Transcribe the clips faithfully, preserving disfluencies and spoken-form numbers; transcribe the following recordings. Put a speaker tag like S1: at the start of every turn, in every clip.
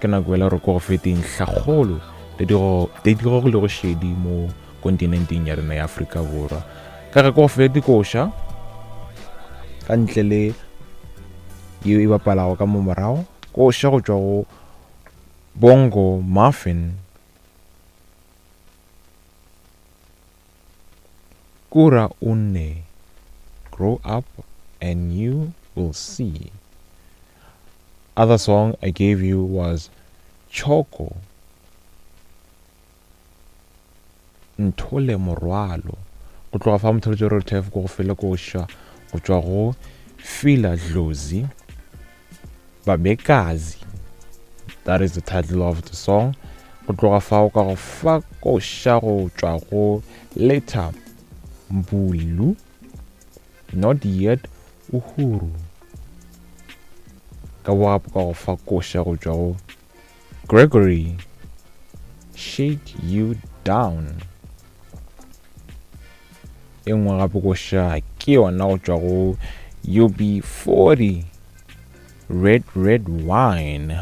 S1: Ke nako ela re ko go fe dintlhakgolo tse di go tse di gogilego šedi mo kontinenteng ya rena ya Afrika Borwa. Ka ge ko go fe dikoša ka ntle le yeo e bapalago ka mo morago, koša go tšwa go Bongo Muffin, Kura One, Grow Up and You Will See. Other song I gave you was Choco, Nthole Morwalo. Go tloga fa motheletšo re thef ko go fele koša go tšwa go Fila Dlozi, Babekazi. That is the title of the song. Go tloga fao ka go fa koša go tšwa go Leta Mbulu, Not Yet Uhuru. Ka bogapo ka go fa koša go tšwa go Gregory, Shake You Down. E nngwe gape koša ke yona go tšwa go U B forty, Red Red Wine.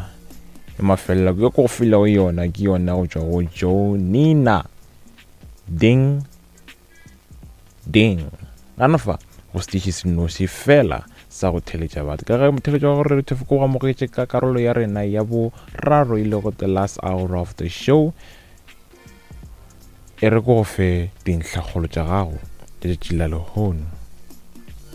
S1: E mafelelo ke go filego yona ke yona go tšwa go Jonina, Ding Ding. Gana fa go setiši se noši fela sa go theletša batho. Ka ge motheletšo wa gore re thefo ko go amogetše ka karolo ya rena ya boraro e lego the last hour of the show, e re ko go fe dintlhakgolo tša gago tša letšatši la lehono.